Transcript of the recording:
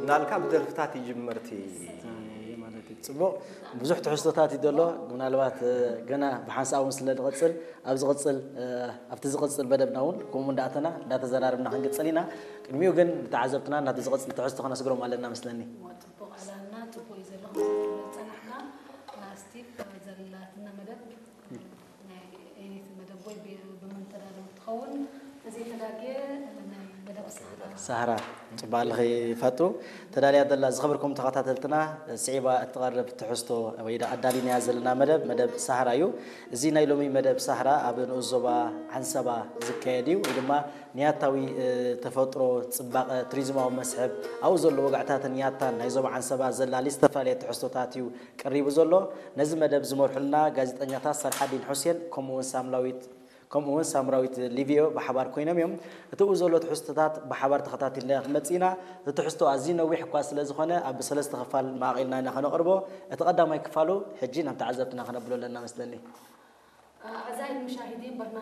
ናልካ ብደርፍታት ይጅመርቲ። ማለት እዩ። ጽቡቕ፣ ብዙሕ ትሕዝቶታት እዩ ዘሎ። ምናልባት ገና ብሓንሳእ እውን ስለ ንቐጽል፣ ኣብ ዝቐጽል ኣብቲ ዝቐጽል መደብና እውን ከምኡ እንዳእተና እንዳተዘራርብና ክንቅጽል ኢና። ቅድሚኡ ግን ንተዓዘብትና ናብቲ ዝቐጽል ትሕዝቶ ከነስግሮም ኣለና መስለኒ። ጽቡቕ ኣላና ጽቡቕ እዩ ዘሎ። ዝጸናሕና ስቲቭ ዘላትና መደብ ናይ ኤኒት መደብ ወይ ብመንተዳሎ ትኸውን። እዚ ተዳግየ ናይ መደብ ሰሃራ ሳህራ ጽባልኺ ፈጡ ተዳልያ ዘላ። ዝኸበርኩም ተኸታተልትና፣ ስዒባ እትቐርብ ትሕዝቶ ወይ ዳ ኣዳሊናያ ዘለና መደብ መደብ ሳህራ እዩ። እዚ ናይ ሎሚ መደብ ሳህራ ኣብ ንኡስ ዞባ ዓንሰባ ዝካየድ እዩ፣ ወይ ድማ ንያታዊ ተፈጥሮ ጽባቐ፣ ቱሪዝማዊ መስሕብ፣ ኣብኡ ዘሎ ወግዕታትን ያታን ናይ ዞባ ዓንሰባ ዘላሊ ዝተፈላለየ ትሕዝቶታት እዩ ቀሪቡ ዘሎ። ነዚ መደብ ዝመርሑልና ጋዜጠኛታት ሳልሓዲን ሑሴን ከምኡውን ሳምላዊት ከምኡውን ሳምራዊት ሊቪዮ ብሓባር ኮይኖም እዮም። እቲ ብኡ ዘሎ ትሕዝቶታት ብሓባር ተኸታቲልና ክንመጽእ ኢና። እቲ ትሕዝቶ ኣዝዩ ነዊሕ እኳ ስለ ዝኾነ ኣብ ሰለስተ ክፋል መቓቒልና ኢና ከነቕርቦ። እቲ ቀዳማይ ክፋሉ ሕጂ ናብ ተዓዘብትና ከነብሎ ኣለና መስለኒ። ኣዕዛይ ሙሻሂዲን በርና